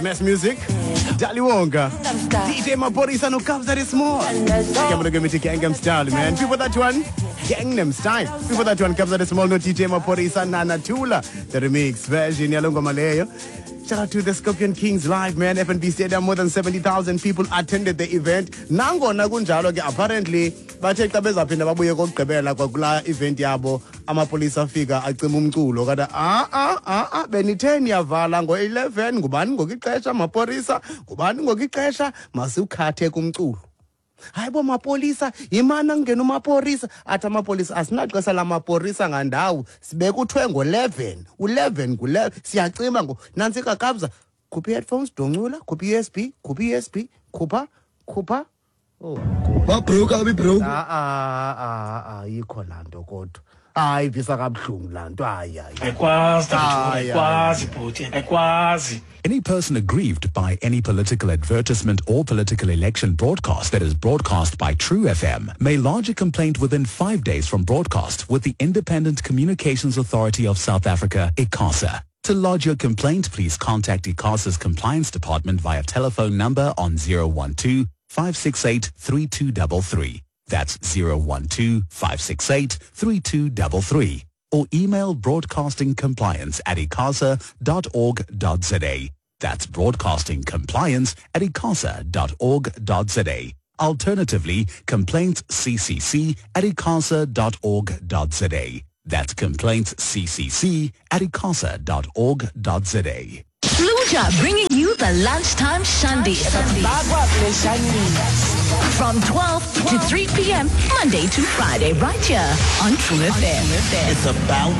Smash Music, Daliwonga, DJ Maphorisa no Kabza De Small. Igama lengoma Gangnam Style, man. Before that one, Gangnam Style. Before that one, Kabza De Small no DJ Maphorisa Nana Tula, the remix version yalo ngoma leyo. Shout out to the Scorpion Kings live, man. FNB Stadium, more than 70,000 people attended the event. Nangona kunjalo ke, apparently bathe xa bezaphinda babuye kokugqibela kwakula event yabo, amapolisa afika acima umculo kada ah ah ah ah, benithe niyavala ngo-11, ngubani ngoku ixesha mapolisa, ngubani ngoku ixesha masiwukhathe kumculo. Hayi bo mapolisa, yimana kungena umapolisa, athi amapolisa asinaxesha lamapolisa ngandawo, sibeke uthwe ngo-11, u-11 ngu-11, siyacima ngo nantsi kakabza, khupha i-headphones, doncula, khupha i-USB, khupha i-USB, khupha, khupha. Oh. Babroke abibroke. Ah ah ah ah, ayikho laa nto kodwa. Hayi, ivisa kabuhlungu laa nto, hayi hayi. Ayikwazi Hayi, ayikwazi bhuti, ayikwazi. Any person aggrieved by any political advertisement or political election broadcast that is broadcast by True FM may lodge a complaint within 5 days from broadcast with the Independent Communications Authority of South Africa, ICASA. To lodge your complaint, please contact ICASA's compliance department via telephone number on 012 568 3233. That's 012 568 3233. Or email broadcastingcompliance@icasa.org.za. That's broadcastingcompliance@icasa.org.za. Alternatively, complaintsccc@icasa.org.za. That's complaintsccc@icasa.org.za. Luja bringing you the lunchtime shandy. From 12 to 3 p.m., Monday to Friday, right here on True FM. It's about